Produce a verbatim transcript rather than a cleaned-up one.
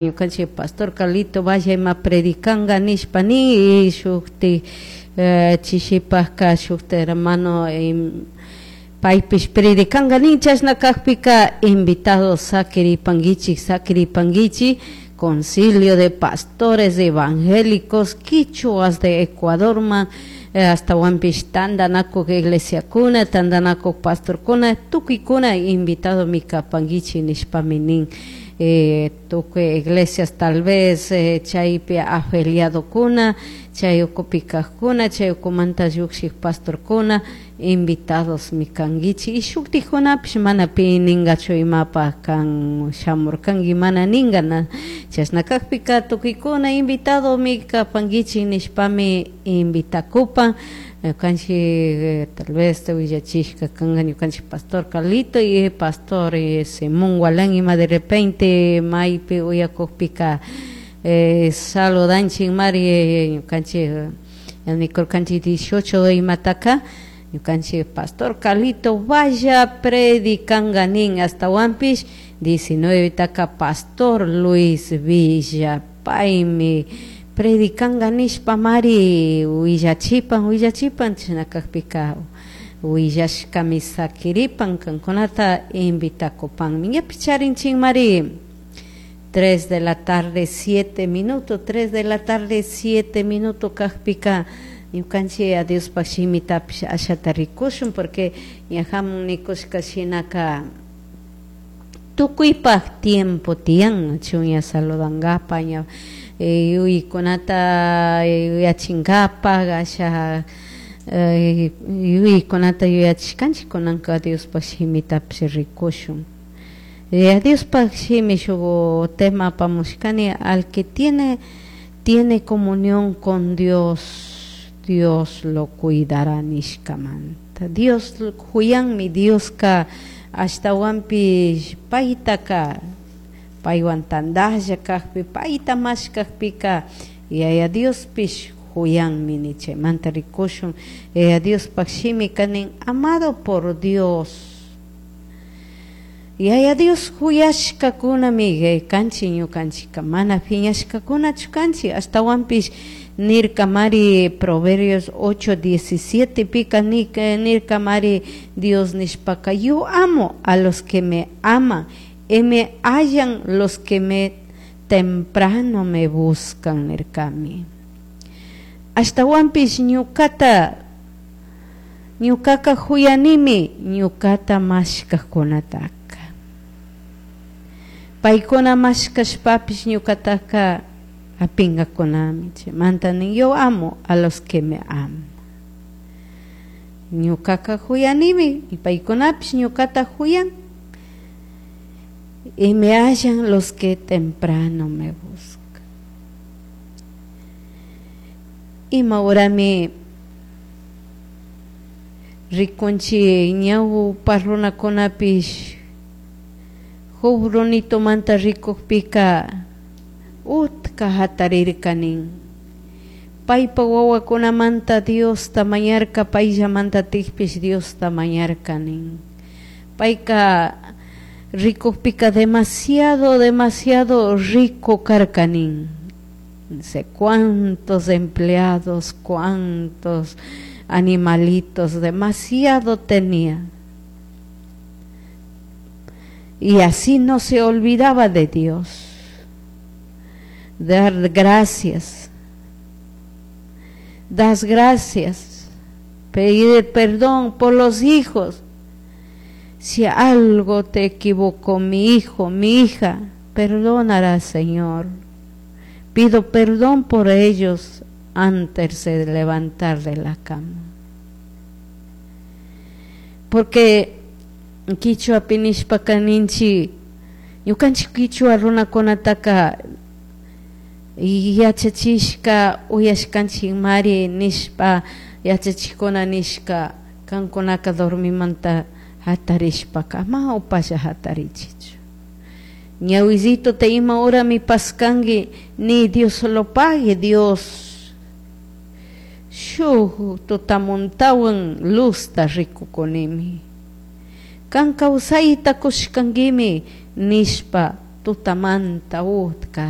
Ñukanchik pastor Carlito vaya ima predicanga nishpa ni shukti chishipaka shukti hermano paypish predicanga nin chashna kakpika invitados sakiripankichik sakiripankichik Concilio de Pastores Evangélicos Quichuas de Ecuadorman ashtawanpish tantanakuk iglesiakuna tantanakuk pastorkuna tukuykuna invitadomi kapankichik nishpami nin tukuy iglesias tal vez chaypi afiliadokuna chay ukupi kakkuna chay ukumanta llukshik pastorkuna invitadosmi kankichik y shuktikkunapish mana pi ninkachu imapak kan shamurkanki mana ninka na chashna kakpika tukuykuna invitadomi kapankichik nishpami invitakupan ñukanchik tal vez willachishka kanka ñukanchik pastor Carlito y pastor Simón Gualán ima de repente maypi uyakukpika saludanchik mari ñukanchik nikurkanchik dieciocho imataka ñukanchik pastor Carlito vaya predicanka nin ashtawanpish diecinueve taka pastor Luis Villa paymi predicanka nishpa mari willachipan willachipan chashna kakpika willashkami sakiripan kankunata invitakupanmi ñapish charinchikmari tres de la tarde siete minuto tres de la tarde siete minuto kakpika ñukanchik a Diospak shimitapish ashata rikushun porque ñajamun nikushka shinaka tukuypak tiempo tiyan chunya saludankapak ña yuyaykunata yuyachinkapak asha yuyaykunata yuyachishkanchik kunanka Diospak shimitapish rikushun Diospak shimi shuk tema apamushkani al que tiene tiene comunión con Dios Dios lo cuidará nishkamanta Dios huyanmi Dioska ashtawanpish paytaka paywan tandalla kakpi payta mashkakpika yaya Diospish huyanmi ni chaymanta rikushun yaya Diospak shimika nin amado por Dios yaya Dios huyashkakunami kanchik ñukanchika mana piñashkakunachu kanchik ashtawanpish nirka mari Proverbios ocho diecisiete pika nirka mari Dios nishpaka yo amo a los que me aman y me hallan los que me temprano me buscan nirkami ashtawanpish ñukata ñukaka huyanimi ñukata mashkakkunataka paykuna mashkashpapish ñukataka apinkakunami chaymanta nin yo amo a los que me aman ñukaka huyanimi y paykunapish ñukata huyan y me hallan los que temprano me buscan ima horami rikunchik ñawpa runakunapish Job runitumanta rikukpika utka hatarirka nin paypa wawakunamanta Diosta mañarka payllamantatikpish Diosta mañarka nin payka rikukpika demasiado demasiado rico karka nin no sé cuántos empleados cuántos animalitos demasiado tenía y así no se olvidaba de Dios dar gracias das gracias pedir perdón por los hijos si algo te equivocó mi hijo, mi hija, perdónala, Señor. Pido perdón por ellos antes de levantar de la cama. Porque kichwapi nishpaka ninchik ñukanchik kichwa runakunataka yachachishka uyashkanchik mari nishpa yachachikuna nishka kankunaka dormimanta hatarishpaka ama upalla hatarichichu ñawisito te ima horami paskanki ni Dios lo pague Dios shuk tutamuntawan luzta rikukunimi kan kawsayta kushkankimi nishpa tutamanta utka